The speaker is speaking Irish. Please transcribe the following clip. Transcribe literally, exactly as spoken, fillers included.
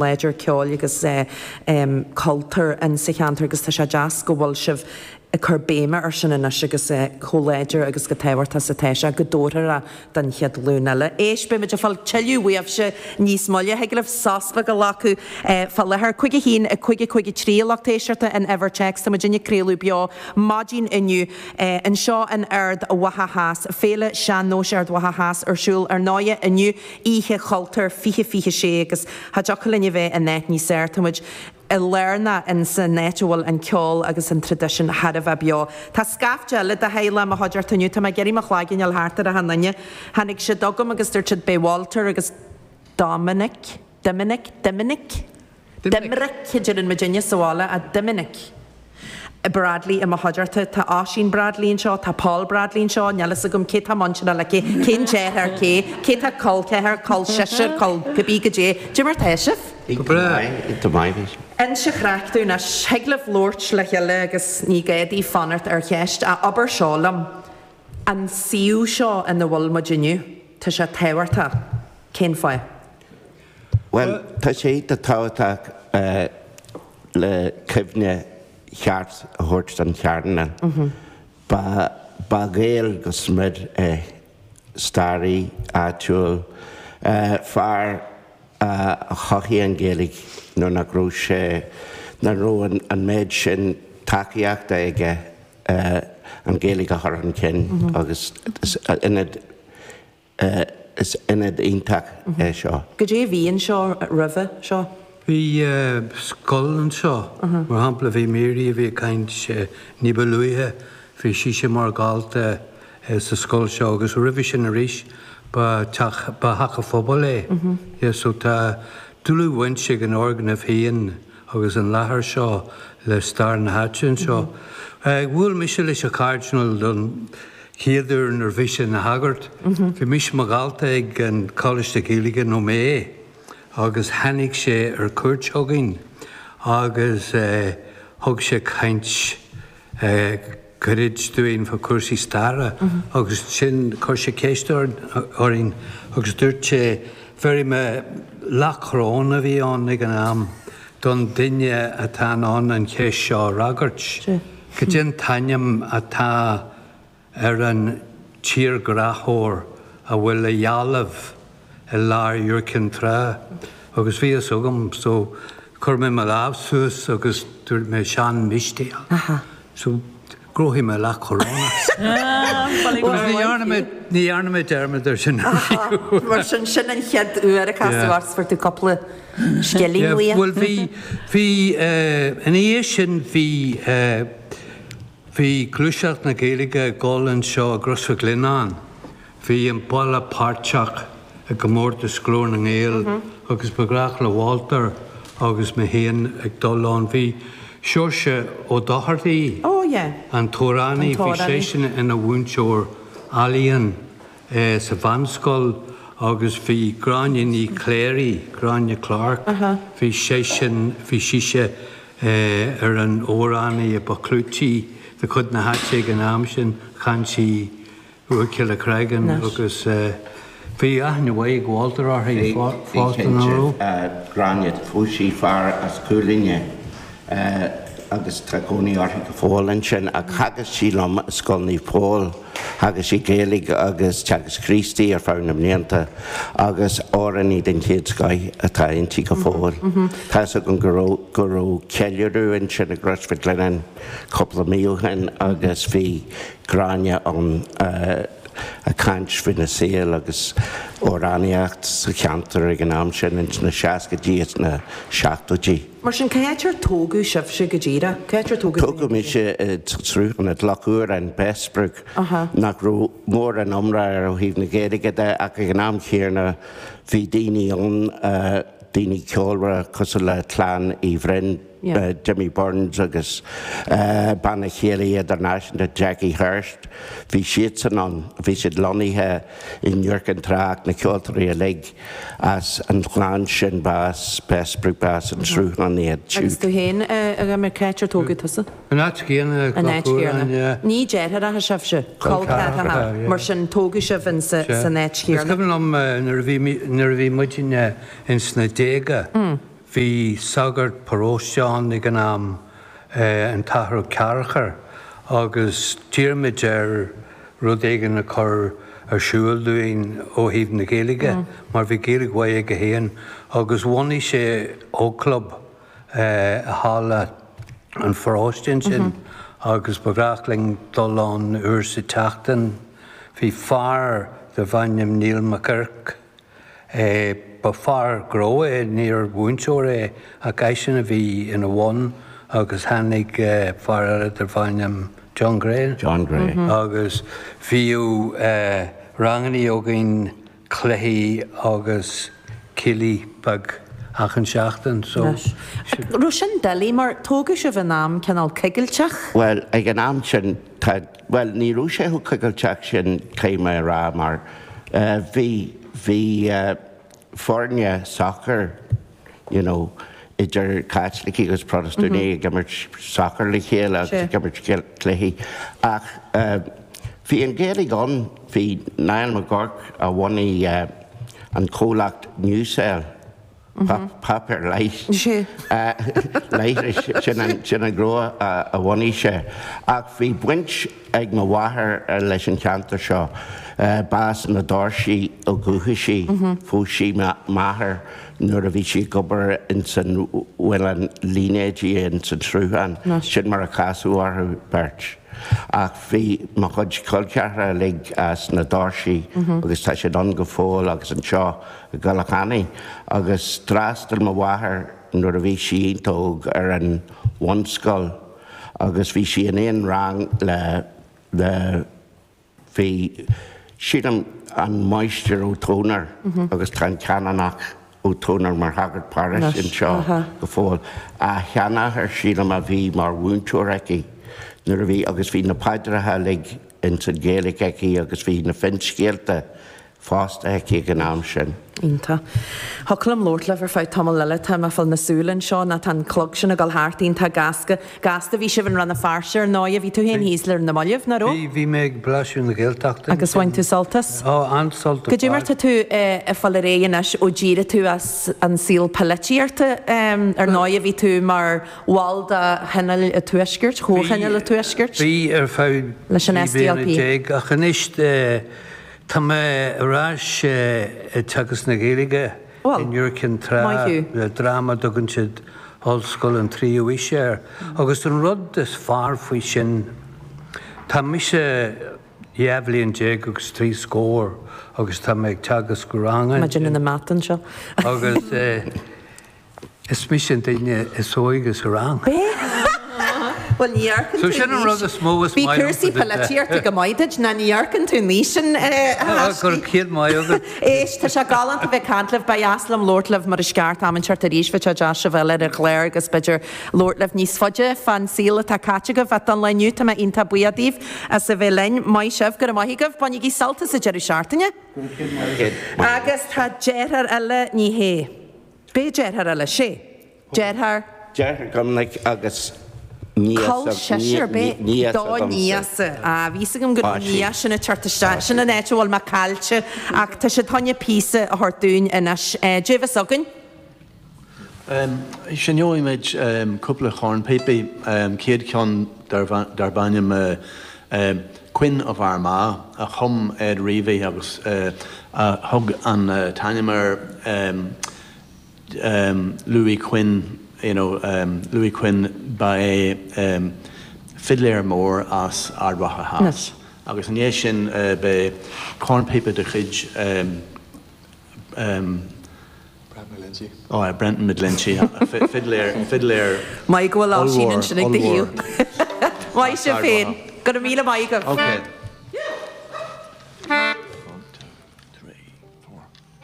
Láidir ceoil agus cultúr in sa cheantar agus tá sé deas go bhfuil sibh ag cur béime ar sin anois agus chomh láidir agus go tábhachtach is atá sé go dtabharfar don chéad ghlúin eile. Éist, beimid ag fáil tuilleadh uaibhse níos moille. Thig libh sos beag a ghlacadh fá láthair. Cúig a haon, a cúig a cúig a trí a lucht éisteachta an uimhir téacs. Tá muid ag craoladh beo maidin inniu anseo in Ard Mhacha Theas. Féile Sean-Nóis Ard Mhacha Theas ar siúl ar ndóighe inniu, Oíche Chultúir fiche fiche sé agus cha dtiocfadh linn a bheith in áit níos fearr. Tá muid i lárnach in san áit a bhfuil an ceol agus an traidisiún thar a bheith beo. Tá scaifte eile de theaghlach i mo chuideachta inniu. Tá mé ag iarraidh mo chloigeann a fháil thart ar achan duine. Tháinig siad chugam agus dúirt siad beidh Walter agus Dominic, Doiminic, Doiminic? Doimric a deireann muidinne sa bhaile, a Doiminic. Bradley i mo chuideachta. Tá Oisín Bradley anseo, tá Paul Bradley anseo, níl fhios agam cé tá muinteartha le cé, cén deartháir cé, cé tá col ceathar, col sisir, col cibé goidé. Cad é mar tá sibh? Go breá. Go maith. Inis an chraic dúinn anois, thig libh labhairt le chéile agus ní gá daoibh fanacht ar cheist. Ach abair seo liom, an suíomh seo ina bhfuil muid inniu, tá sé tábhachtach. Cén fáth? Bhuel, tá sé tábhachtach le cuimhne cheart a thabhairt don Chairdinéal. Ba ba Ghael go smior é, staraí áitiúil, fear a chothaigh an Ghaeilge nuair nach raibh sé, nach raibh an méid sin tacaíochta aige an Ghaeilge a chur chun cinn agus is ionad is ionad iontach é seo. Goidé a bhí anseo roimhe seo? Bhí scoil anseo, mar shampla bhí Mary a bhí ag caint ní ba luaithe, bhí sise mar dhalta sa scoil seo agus roimhe sin arís ba teach ba theach an phobail é. Yeah, so tá dlúthbhaint ag an fhoirgneamh féin agus an láthair seo le stair na háite anseo. Bhuail mise leis an Chairdinéal don chéad uair nuair bhí sé ina shagart. Bhí mise mo dhalta ag an Choláiste Gaeilge nó mé agus tháinig sé ar cuairt chugainn agus thug sé caint gairid dúinn fá chúrsaí staire agus sin chuir sé ceist orainn agus dúirt sé bhéarfaidh mé leathchoróin a bhí ann ag an am don duine atá in ann an cheist seo a fhreagairt. Cad é an t-ainm atá ar an tírghráthóir a bhfuil a dhealbh i lár Iúr Cinn Trá agus bhí fhios agam so chuir mé mo lámh suas agus dúirt mé Seán Mistéal. So ghnóthaigh mé leathchoróin. Ní dhearna mé ní dhearna mé dearmad ar sin. Mar sin sin an chéad uair a casadh ort fuair tú cúpla scilling uaidh. Bhuel bhí bhí ina dhiaidh sin bhí bhí gluaiseacht na Gaeilge ag dul anseo i gCrois Mhic Lionnáin. Bhí an baile páirteach i gcomórtas Glór na nGael agus ba ghnách le Walter agus mé féin ag dul ann. Bhí Seoirse Ó Dochartaigh, an t-amhránaí, bhí seisean ina mhúinteoir ealaíon sa mheánscoil agus bhí Gráinne Ní Chléirigh, Gráinne Clarke, bhí seisean, bhí sise ar an amhránaí a ba chlúití de chuid na háite ag an am sin, chan sí Ua Cille Cregan agus bhí aithne mhaith ag Walter uirthi fosta, nach raibh? Gráinne, phós sí fear as Cúil Fhinne agus tá cónaí uirthi go fóill ansin ach theagasc sí liom i Scoil Naomh Pól, theagasc sí Gaeilge agus Teagasc Críostaí ar feadh na mblianta agus amhránaí den chéad scoith atá inti go fóill. Tá fhios agam go raibh go raibh ceiliúradh ansin i gCrois Mhic Lionnáin cúpla mí ó shin agus bhí Gráinne ann ag caint faoina saol agus amhránaíocht sa cheantar ag an am sin ins na seascaidí is na seachtóidí. Mar sin, cá háit ar tógadh sibhse go díreach? Cá háit ar tógadh tú Tógadh mise i Sruthán i gCloch Fhuaráin, Bessbrook, nach raibh mórán iomrá air ó thaobh na Gaeilge de ach ag an am chéanna bhí daoine ann, daoine ceolmhara cosúil le clann Uí Bhroin, Jimmy Burns agus bean a chéile idirnáisiúnta Jackie Hurst, bhí siadsan ann, bhí siad lonnaithe i nIúr Cinn Trá ach na ceoltóirí uilig as an chlann sin ba as Bessbrook, ba as an Sruthán iad Agus siúd. tú féin, a Dhoiminic, cá háit ar tógadh tusa? An áit chéanna, An áit Cloch Fhuaráin, chéanna. yeah. Ní deartháireacha sibhse? Col Col ceathracha, ceathracha. yeah. Mar sin, tógadh sibh in sa Sea. san áit Is chéanna. cuimhin liom nuair a bhí, nuair a bhí muidinne ins na déaga, Bhí sagart paróiste ann ag an am, an tAthair Ó Cearchair, agus d'iarr muid air rud éigin a chur ar siúl dúinn ó thaobh na Gaeilge, mar bhí Gaeilge mhaith aige féin, agus bhunaigh sé ógchlub i halla an pharóiste ansin agus ba ghnách linn dul ann uair sa tseachtain. Bhí fear darbh ainm Niall Mac Oirc, ba fear gnó é, níor mhúinteoir é, ach eisean a bhí ina bhun agus tháinig fear eile darbh ainm John Gray. John Gray. Agus bhíodh ranganna againn, cluichí agus céilí beag achan seachtain. So, Raibh sin doiligh mar tógadh sibh in am cineál coigilteach? Bhuel, ag an am sin, tá, bhuel, ní raibh sé chomh coigilteach sin, caithfidh mé a rá, mar bhí, bhí foirne sacair, you know, idir Caitlicigh agus Protastúnaigh ag imirt sacair le chéile agus ag imirt cluichí. Ach bhí an Ghaeilge ann, bhí Niall Mac Guairc a bhunaigh an comhlacht Newsel, páipéar leighis, leithris, sin an, sin an gnó a bhunaigh sé. Ach bhí baint ag mo mháthair leis an cheantar seo. Ba as na Doirsí ó dhúchas í. Phós sí m'athair nuair a bhí sí ag obair ins an mhuileann línéidí ins an Sruthán. Sin mar a casadh orthu beirt. Ach bhí mo chuid col ceathracha uilig as na Doirsí agus tá siad ann go fóill agus anseo i gCoill Eannaigh. Agus d'fhreastail mo mháthair nuair a bhí sí iontach óg ar an bhunscoil agus bhí sí in aon rang le le bhí, sílim, an Máistir Ó Tónair agus tá an Canónach Ó Tónair mar shagart paróiste anseo go fóill. A sheanathair, sílim, a bhí mar mhúinteoir aici nuair a bhí, agus bhí na paidreacha uilig ins an Ghaeilge aici agus bhí na finscéalta fosta aici ag an am sin. Iontach. Thiocfadh liom labhairt libh ar feadh tamall eile, tá mé ag fáil na súl anseo ná tá an clog sin ag dul thart iontach gasta. Gasta, bhí sibh in Rann na Feirste ar ndóigh, bhí tú féin thíos le na mallaibh, nach raibh? Bhí, bhí mé ag Blaiseadh na Gaeltachta. Agus bhain tú sult as? Ó, an-sult ar Cad é mar fad. tá tú ag fáil ar aghaidh anois ó d'éirigh tú as an saol poilitíochta? Ar ndóigh, bhí tú mar bhall de Thionól an Tuaiscirt, Chomhthionól an Tuaiscirt. Bhí, ar feadh Leis an trí bliana S D L P. déag, ach anois tá mé ar ais ag teagasc na Gaeilge Bhuel, in Iúr Cinn Trá maith thú. le dream a dtugann siad Ollscoil an Tríú Aois air. Agus an rud is fearr faoi sin, tá mise dhá bhliain déag agus trí scór agus tá mé ag teagasc ranga Má déanann na mata anseo. Agus is mise an duine is óige sa rang. Bhuel, ní amharcann So tú sin an an rud is mó is Bhí maith liom cúrsaí faoi do polaitíochta go maith duit, ná ní amharcann tú an aois sin, a Go Thaiscí. céad maith agat. Éist, tá sé galánta bheith ag caint libh, ba dheas liom labhairt libh mar is ceart am inteacht arís, bheadh sé deas sibh a fháil ar an chlár agus b'fhéidir labhairt libh níos faide fán saol atá caite agaibh ach don lá inniu tá mé iontach buíoch daoibh as a bheith linn. Maith sibh, go raibh maith agaibh, bainigí sult as an deireadh seachtaine. Agus tá deartháir eile, ní hé. B'é deartháir eile, sé. Deartháir. Deartháir Doimnic agus níos Col sisir, b'é níos do agamsa. níosa. Ah, bhí a fhios agam go raibh Tá sí. níos sin ag teacht isteach. Sin an áit a bhfuil mé caillte ach tá siad chun píosa a thabhairt dúinn anois. Eh, Dé bheas againn? Um, Seinneoidh muid um, cúpla cornpíopaí, um, céad ceann darb ainm uh, um, Quinn of Armagh a chum Ed Reavy agus uh, a thug an uh, t-ainm ar um, um, Louis Quinn, you know, um, Louis Quinn ba é um, fidléir mór as Ard Mhacha Theas. Agus an é sin uh, be cornpíopa de chuid um, um, Oh, uh, Brendan McGlinchey, fiddler, fiddler. Maith go bhfuil Oisín ollmhór, ansin ag do ollmhór. thaobh. Maith sibh féin. Go raibh míle maith agaibh. Okay.